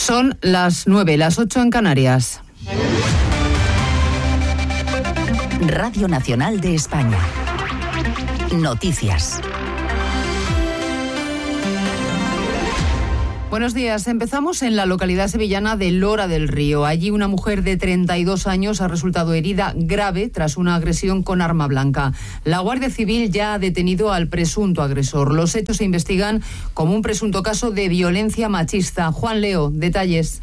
Son las 9, las 8 en Canarias. Radio Nacional de España. Noticias. Buenos días. Empezamos en la localidad sevillana de Lora del Río. Allí una mujer de 32 años ha resultado herida grave tras una agresión con arma blanca. La Guardia Civil ya ha detenido al presunto agresor. Los hechos se investigan como un presunto caso de violencia machista. Juan Leo, detalles.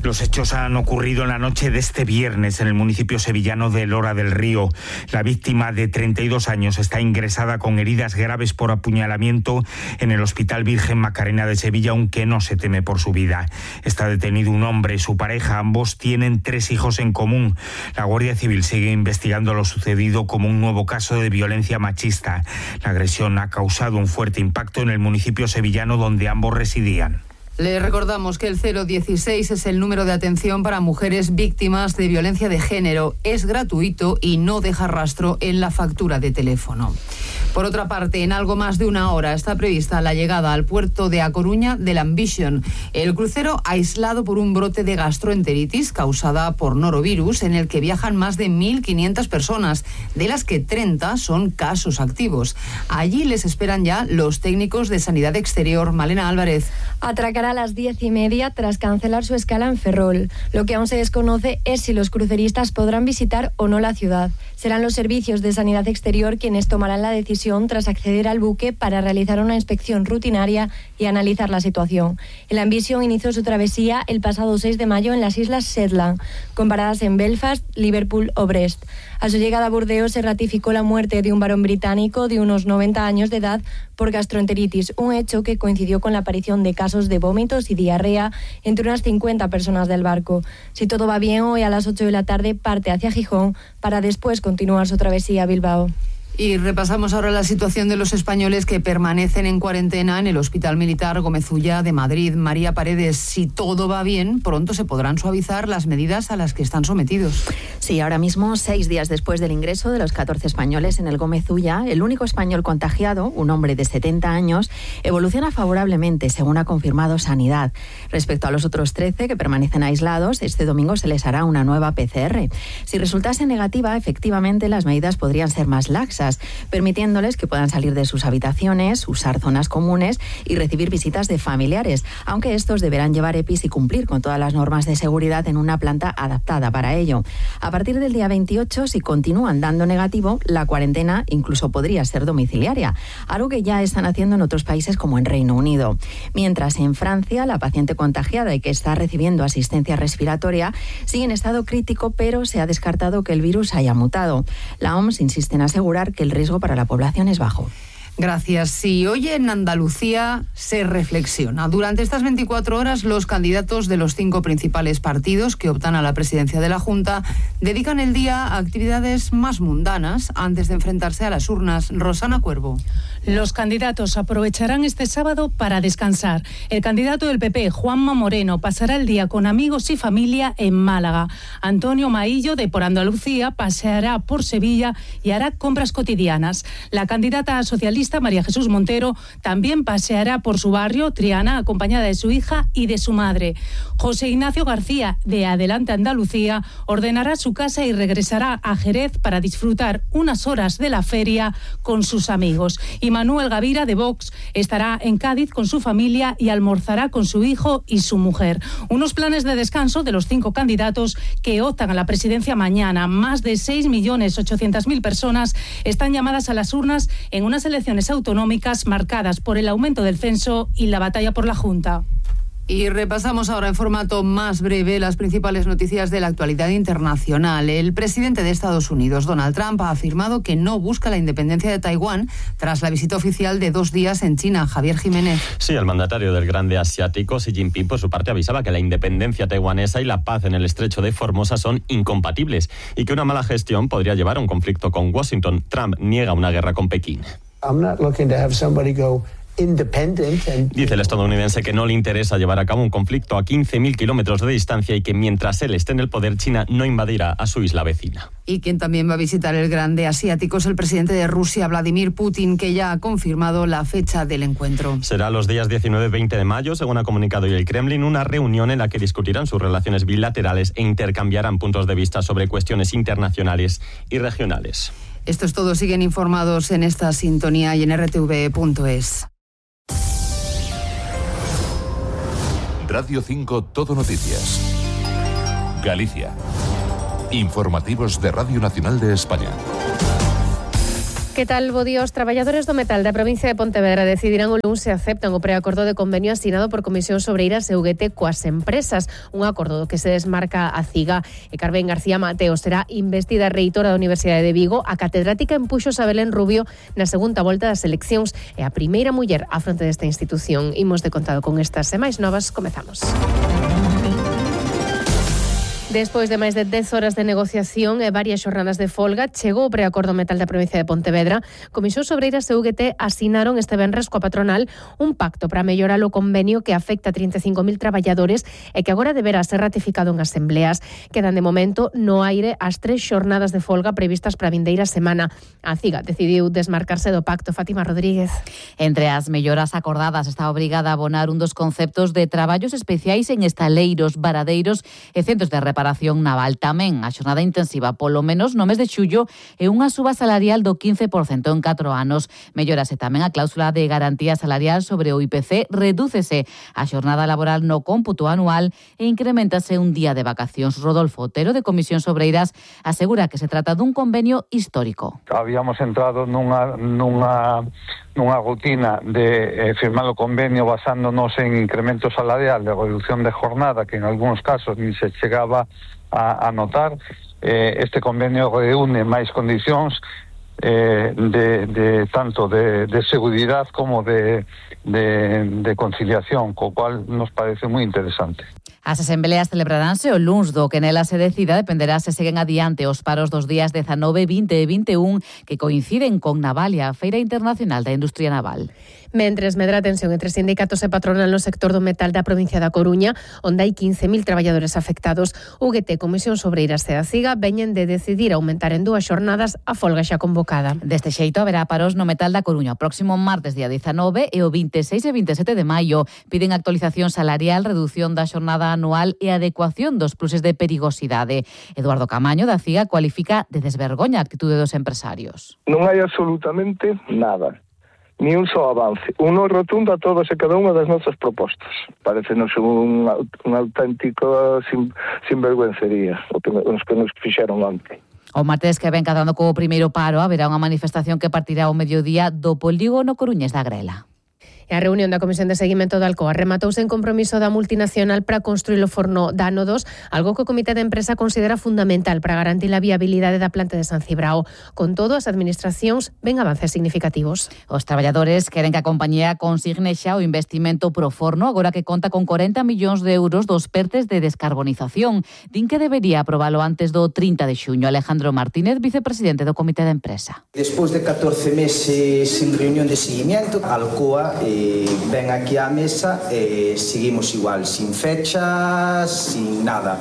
Los hechos han ocurrido en la noche de este viernes en el municipio sevillano de Lora del Río. La víctima de 32 años está ingresada con heridas graves por apuñalamiento en el Hospital Virgen Macarena de Sevilla, aunque no se teme por su vida. Está detenido un hombre y su pareja. Ambos tienen 3 hijos en común. La Guardia Civil sigue investigando lo sucedido como un nuevo caso de violencia machista. La agresión ha causado un fuerte impacto en el municipio sevillano donde ambos residían. Le recordamos que el 016 es el número de atención para mujeres víctimas de violencia de género. Es gratuito y no deja rastro en la factura de teléfono. Por otra parte, en algo más de una hora está prevista la llegada al puerto de A Coruña del Ambition, el crucero aislado por un brote de gastroenteritis causada por norovirus, en el que viajan más de 1.500 personas, de las que 30 son casos activos. Allí les esperan ya los técnicos de Sanidad Exterior. Malena Álvarez. Atracará a las 10:30 tras cancelar su escala en Ferrol. Lo que aún se desconoce es si los cruceristas podrán visitar o no la ciudad. Serán los servicios de Sanidad Exterior quienes tomarán la decisión tras acceder al buque para realizar una inspección rutinaria y analizar la situación. El Ambition inició su travesía el pasado 6 de mayo en las Islas Shetland, con paradas en Belfast, Liverpool o Brest. A su llegada a Burdeos se ratificó la muerte de un varón británico de unos 90 años de edad por gastroenteritis, un hecho que coincidió con la aparición de casos de vómitos y diarrea entre unas 50 personas del barco. Si todo va bien, hoy a las 8 de la tarde parte hacia Gijón para después continuar su travesía a Bilbao. Y repasamos ahora la situación de los españoles que permanecen en cuarentena en el Hospital Militar Gómez Ulla de Madrid. María Paredes, si todo va bien, pronto se podrán suavizar las medidas a las que están sometidos. Sí, ahora mismo, 6 días después del ingreso de los 14 españoles en el Gómez Ulla, el único español contagiado, un hombre de 70 años, evoluciona favorablemente, según ha confirmado Sanidad. Respecto a los otros 13 que permanecen aislados, este domingo se les hará una nueva PCR. Si resultase negativa, efectivamente las medidas podrían ser más laxas, permitiéndoles que puedan salir de sus habitaciones, usar zonas comunes y recibir visitas de familiares, aunque estos deberán llevar EPIs y cumplir con todas las normas de seguridad en una planta adaptada para ello. A partir del día 28, si continúan dando negativo, la cuarentena incluso podría ser domiciliaria, algo que ya están haciendo en otros países como en Reino Unido. Mientras en Francia, la paciente contagiada y que está recibiendo asistencia respiratoria sigue en estado crítico, pero se ha descartado que el virus haya mutado. La OMS insiste en asegurar que el riesgo para la población es bajo. Gracias. Sí, hoy en Andalucía se reflexiona. Durante estas 24 horas, los candidatos de los 5 principales partidos que optan a la presidencia de la Junta dedican el día a actividades más mundanas antes de enfrentarse a las urnas. Rosana Cuervo. Los candidatos aprovecharán este sábado para descansar. El candidato del PP, Juanma Moreno, pasará el día con amigos y familia en Málaga. Antonio Maillo, de Por Andalucía, paseará por Sevilla y hará compras cotidianas. La candidata socialista, María Jesús Montero, también paseará por su barrio, Triana, acompañada de su hija y de su madre. José Ignacio García, de Adelante Andalucía, ordenará su casa y regresará a Jerez para disfrutar unas horas de la feria con sus amigos. Y Manuel Gavira, de Vox, estará en Cádiz con su familia y almorzará con su hijo y su mujer. Unos planes de descanso de los 5 candidatos que optan a la presidencia mañana. Más de 6.800.000 personas están llamadas a las urnas en unas elecciones autonómicas marcadas por el aumento del censo y la batalla por la Junta. Y repasamos ahora en formato más breve las principales noticias de la actualidad internacional. El presidente de Estados Unidos, Donald Trump, ha afirmado que no busca la independencia de Taiwán tras la visita oficial de 2 días en China. Javier Jiménez. Sí, el mandatario del grande asiático, Xi Jinping, por su parte avisaba que la independencia taiwanesa y la paz en el estrecho de Formosa son incompatibles y que una mala gestión podría llevar a un conflicto con Washington. Trump niega una guerra con Pekín. I'm not looking to have somebody go Dice el estadounidense que no le interesa llevar a cabo un conflicto a 15.000 kilómetros de distancia y que mientras él esté en el poder, China no invadirá a su isla vecina. Y quien también va a visitar el grande asiático es el presidente de Rusia, Vladimir Putin, que ya ha confirmado la fecha del encuentro. Será los días 19 y 20 de mayo, según ha comunicado hoy el Kremlin, una reunión en la que discutirán sus relaciones bilaterales e intercambiarán puntos de vista sobre cuestiones internacionales y regionales. Esto es todo. Siguen informados en esta sintonía y en rtv.es. Radio 5 Todo Noticias. Galicia. Informativos de Radio Nacional de España. Que tal, bo día? Os traballadores do metal da provincia de Pontevedra decidirán o luns se aceptan o preacordo de convenio asinado por Comisións Obreiras e UGT coas empresas. Un acordo do que se desmarca a CIGA. E Carmen García Mateo será investida reitora da Universidade de Vigo, a catedrática en Puxos a Belén Rubio na segunda volta das eleccións e a primeira muller á fronte desta institución. Imos de contado con estas e máis novas, comezamos. Despois de máis de 10 horas de negociación e varias xornadas de folga, chegou o preacordo metal da provincia de Pontevedra. Comisións Obreiras e UGT asinaron este venres coa patronal un pacto para mellorar o convenio que afecta a 35.000 traballadores e que agora deberá ser ratificado en asembleas. Quedan de momento no aire as 3 xornadas de folga previstas para a vindeira semana. A CIGA decidiu desmarcarse do pacto. Fátima Rodríguez. Entre as melloras acordadas está obrigada a abonar un dos conceptos de traballos especiais en estaleiros, varadeiros e centros de reparación naval. Tamén a xornada intensiva polo menos no mes de xullo e unha suba salarial do 15% en 4 anos. Mellórase tamén a cláusula de garantía salarial sobre o IPC, redúcese a xornada laboral no cómputo anual e incrementase un día de vacacións. Rodolfo Otero, de Comisións Obreiras, asegura que se trata dun convenio histórico. Habíamos entrado nunha rutina de firmar o convenio basándonos en incremento salarial de reducción de jornada, que en algúns casos ni se chegaba a notar. Este convenio reúne máis condicións de tanto de seguridade como de conciliación, co cual nos parece moi interesante. As asembleas celebraránse o luns, do que nela se decida dependerá se seguen adiante os paros dos días 19, 20 e 21 que coinciden con Navalia, a Feira Internacional da Industria Naval. Mentres medra a tensión entre sindicatos e patronal no sector do metal da provincia da Coruña, onde hai 15.000 traballadores afectados, UGT, Comisións Obreiras e a CIGA veñen de decidir aumentar en 2 xornadas a folga xa convocada. Deste xeito haberá paros no metal da Coruña o próximo martes día 19 e o 26 e 27 de maio. Piden actualización salarial, reducción da xornada anual e adecuación dos pluses de perigosidade. Eduardo Camaño, da CIGA, cualifica de desvergoña a actitude dos empresarios. Non hai absolutamente nada, ni un só avance. Uno rotundo a todas e cada unha das nosas propostas. Parecenos un auténtico sinvergüencería os que nos fixeron onte. O martes que ven cadando co primeiro paro haberá unha manifestación que partirá ao mediodía do polígono coruñés da Grela. E a reunión da Comisión de Seguimento da Alcoa rematouse en compromiso da multinacional para construir o forno da Ano 2, algo que o Comité de Empresa considera fundamental para garantir a viabilidade da planta de San Cibrao. Con todo, as administracións ven avances significativos. Os traballadores queren que a compañía consigne xa o investimento pro forno, agora que conta con 40 millóns de euros dos pertes de descarbonización. Din que debería aprobalo antes do 30 de xuño. Alejandro Martínez, vicepresidente do Comité de Empresa. Despois de 14 meses sin reunión de seguimiento, Alcoa ven aquí á mesa e seguimos igual, sin fechas, sin nada.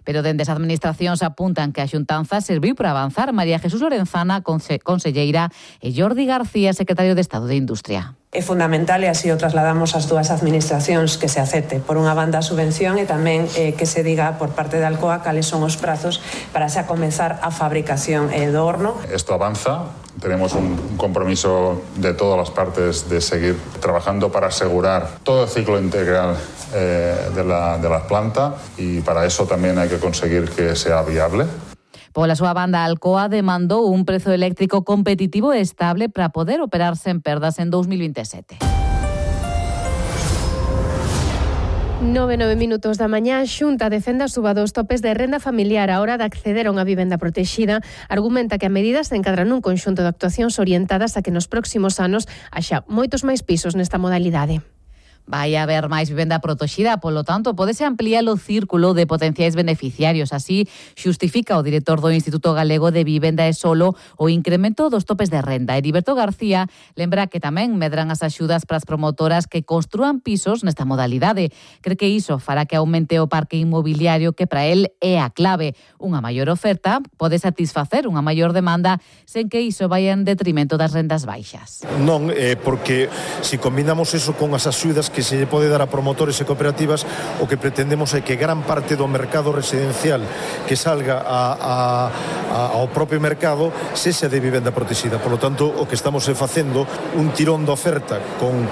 Pero dende as administracións apuntan que a xuntanza serviu para avanzar. María Jesús Lorenzana, conselleira, e Jordi García, secretario de Estado de Industria. É fundamental, e así o trasladamos ás dúas administracións, que se acepte por unha banda a subvención e tamén que se diga por parte de Alcoa cales son os prazos para xa comezar a fabricación do horno. Esto avanza, tenemos un compromiso de todas las partes de seguir trabajando para asegurar todo el ciclo integral de la planta, y para eso también hay que conseguir que sea viable. Pola súa banda, Alcoa demandou un prezo eléctrico competitivo e estable para poder operar sen perdas en 2027. 9 minutos da mañá, Xunta defende a suba dos topes de renda familiar á hora de acceder a unha vivenda protexida. Argumenta que a medida se encadra nun conxunto de actuacións orientadas a que nos próximos anos haxa moitos máis pisos nesta modalidade. Vai haber máis vivenda protexida, polo tanto, podese ampliar o círculo de potenciais beneficiarios. Así, xustifica o director do Instituto Galego de Vivenda e Solo o incremento dos topes de renda. Heriberto García lembra que tamén medran as axudas para as promotoras que construan pisos nesta modalidade. Cree que iso fará que aumente o parque inmobiliario, que para el é a clave. Unha maior oferta pode satisfacer unha maior demanda sen que iso vaya en detrimento das rendas baixas. Non, porque se combinamos eso con as axudas que se lle pode dar a promotores e cooperativas, o que pretendemos é que gran parte do mercado residencial que salga ao propio mercado sexa de vivenda protexida. Por lo tanto, o que estamos facendo un tirón de oferta con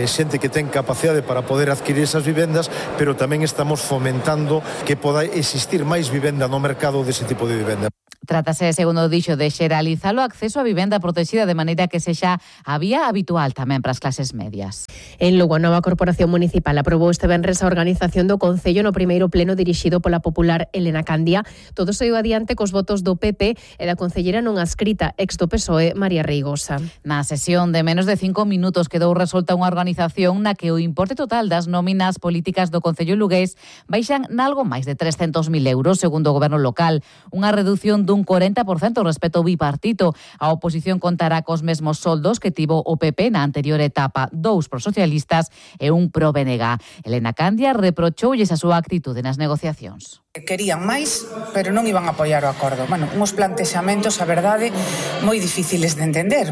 xente que ten capacidade para poder adquirir esas vivendas, pero tamén estamos fomentando que poda existir máis vivenda no mercado dese tipo de vivenda. Trátase, segundo dixo, de xeralizar o acceso a vivenda protexida de maneira que sexa a vía habitual tamén para as clases medias. En Lugo, a nova Corporación Municipal aprobou este venres a organización do Concello no primeiro pleno dirixido pola popular Elena Candia. Todo saiu adiante cos votos do PP e da concellera non adscrita, ex do PSOE, María Reigosa. Na sesión de menos de 5 minutos quedou resolta unha organización na que o importe total das nóminas políticas do Concello lugués baixan nalgo máis de 300.000 euros, segundo o goberno local, unha redución dun 40% respecto ao bipartito. A oposición contará cos mesmos soldos que tivo o PP na anterior etapa, 2 pro socialistas e 1 pro BNG. Elena Candia reprochoulles a súa actitude nas negociacións. Querían máis, pero non iban a apoiar o acordo. Uns plantexamentos, a verdade, moi difíciles de entender.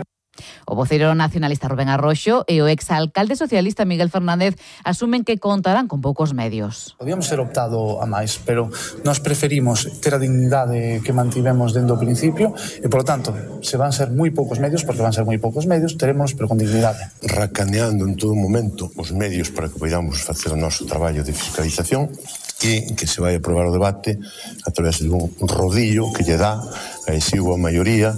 O voceiro nacionalista Rubén Arroxo e o exalcalde socialista Miguel Fernández asumen que contarán con poucos medios. Podíamos ter optado a máis, pero nós preferimos ter a dignidade que mantivemos dentro do principio e, por lo tanto, se van ser moi poucos medios, porque van ser moi poucos medios, teremos, pero con dignidade. Racaneando en todo momento os medios para que podamos facer o noso traballo de fiscalización e que se vai aprobar o debate a través de un rodillo que lle dá a exigua maioría.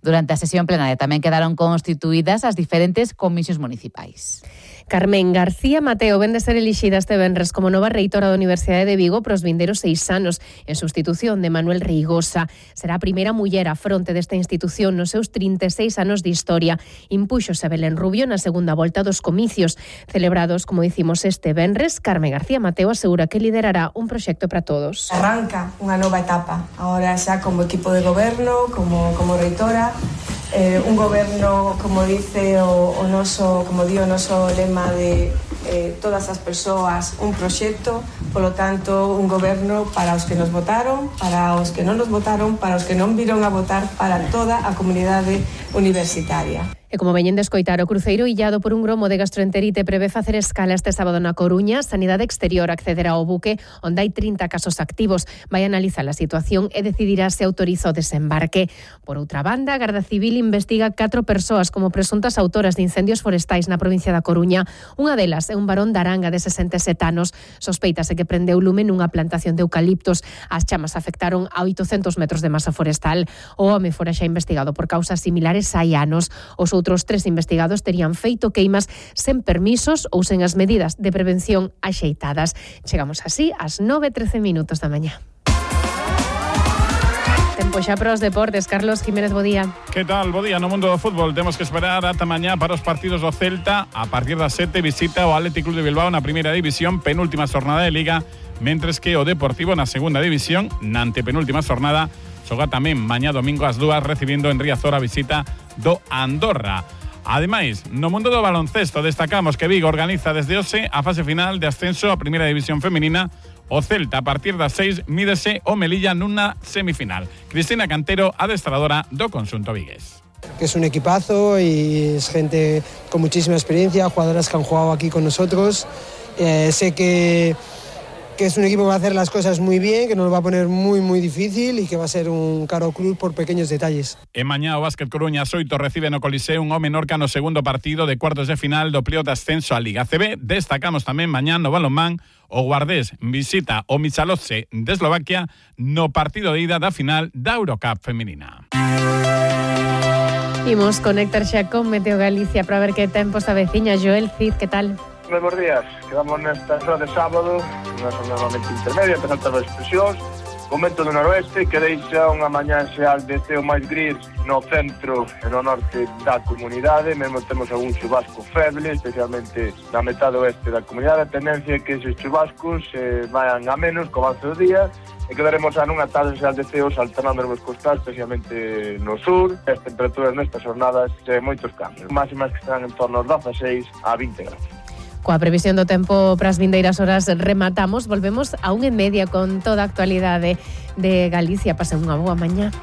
Durante a sesión plenaria tamén quedaron constituídas as diferentes comisións municipais. Carmen García Mateo vén de ser elixida este venres como nova reitora da Universidade de Vigo para os vindeiros 6 anos, en sustitución de Manuel Reigosa. Será a primeira muller á fronte desta institución nos seus 36 anos de historia. Impúxose Belén Rubio na segunda volta dos comicios. Celebrados, como dicimos, este venres, Carmen García Mateo asegura que liderará un proxecto para todos. Arranca unha nova etapa, agora xa como equipo de goberno, como reitora, un goberno, como dice o noso, como di o noso lema de todas as persoas, un proxecto, polo tanto, un goberno para os que nos votaron, para os que non nos votaron, para os que non viron a votar, para toda a comunidade universitaria. E como veñen de escoitar, o cruceiro illado por un gromo de gastroenterite prevé facer escala este sábado na Coruña. Sanidade Exterior accederá ao buque onde hai 30 casos activos. Vai analizar a situación e decidirá se autoriza o desembarque. Por outra banda, a Garda Civil investiga 4 persoas como presuntas autoras de incendios forestais na provincia da Coruña. Unha delas é un varón da Aranga de 67 anos. Sospeitase que prendeu lume nunha plantación de eucaliptos. As chamas afectaron a 800 metros de masa forestal. O home fora xa investigado por causas similares hai anos. Os outros 3 investigados terían feito queimas sen permisos ou sen as medidas de prevención axeitadas. Chegamos así ás 9:13 minutos da mañá. Tempo xa para os deportes. Carlos Jiménez, bo día. Que tal? Bo día no mundo do fútbol. Temos que esperar ata mañá para os partidos do Celta. A partir das 7 visita o Athletic Club de Bilbao na primeira división, penúltima xornada de Liga, mentres que o Deportivo na segunda división, na antepenúltima xornada, xoga tamén mañá domingo ás 2 recibindo en Riazor a visita do Andorra. Ademais, no mundo do baloncesto destacamos que Vigo organiza desde hoxe a fase final de ascenso a primeira división feminina. O Celta a partir das 6 mídese o Melilla nunha semifinal. Cristina Cantero, adestradora do conxunto vigués. Que es un equipazo y es gente con muchísima experiencia, jugadoras que han jugado aquí con nosotros. Sé que es un equipo que va a hacer las cosas muy bien, que nos va a poner muy difícil y que va a ser un caro cruz por pequeños detalles. E mañá o Básquet Coruña 8 recibe no Coliseum o Menorca no segundo partido de cuartos de final do pleo de ascenso a Liga CB. Destacamos tamén mañá no balonmán o Guardés visita o Michalotse de Eslovaquia no partido de ida da final da Eurocup femenina. Imos conectar xa con Meteo Galicia para ver que tempo se aveciña. Joel Cid, que tal? Moi bons días, quedamos nesta zona de sábado, unha zona normalmente intermedia, entre altas expresións, O vento do noroeste que deixa unha mañá xeal de ceo máis gris no centro e no norte da comunidade. Mesmo temos algún chubasco feble, especialmente na metade oeste da comunidade. A tendencia é que esos chubascos vayan a menos co avance do día e quedaremos a nunha tarde xeal de ceos alternando nos costais, especialmente no sur. As temperaturas nestas jornadas moitos cambios. Máximas que estarán en torno aos 16 a 20 grados. Coa previsión do tempo para as vindeiras horas rematamos. Volvemos a 1:30 con toda a actualidade de Galicia. Pasen unha boa mañá.